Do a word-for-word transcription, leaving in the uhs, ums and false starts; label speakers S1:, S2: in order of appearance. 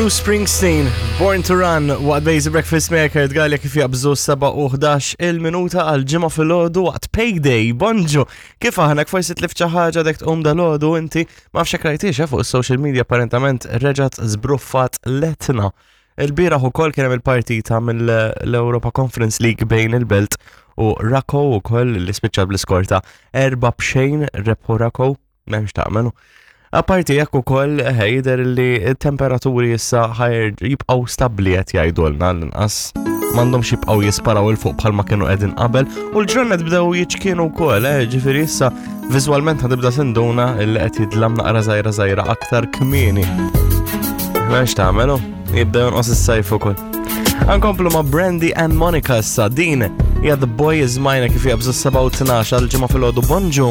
S1: Bruce Springsteen, Born to Run, waqt Basic Breakfast Maker, tgalja kif jaqbżu sebgħa u ħdax il-minuta għal Ġimgħa filgħodu waqt Payday, bonġu. Kif aħna, forsi tlift xi ħaġa dek tqum dalgħodu inti, ma nafx rajtix eh, fuq social media, apparentament reġgħet żbruffat l-Etna. Il-bieraħ ukoll kien hemm il-partita mill-Europa Conference League bejn il-Belt u Rakow ukoll, li spiċċa bl-iskor ta' erba b'xejn rebħu Rakow, m'hemmx tagħmelu. Apparti jekk ukoll eh, jidher li t-temperaturi issa ħa jibqgħu stabbli, qed jgħidulna, l-inqas m'għandhomx jibqgħu jisparaw 'il fuq bħalma kienu qegħdin qabel u l-ġranet bdew jiċkienu wkoll, eh, ġifieri issa viżwalment ħa tibda tinduna li qed jidlam naqra żgħira żgħira aktar kmieni. M'hemmx tagħmelu, jibda jonqos is-sajf ukoll. Ankomplu ma' Brandy and Monica issa, din hija The Boy Is Mine kif jaqbżu sebgħa u tnax għal Ġimgħa filgħodu, bonġu.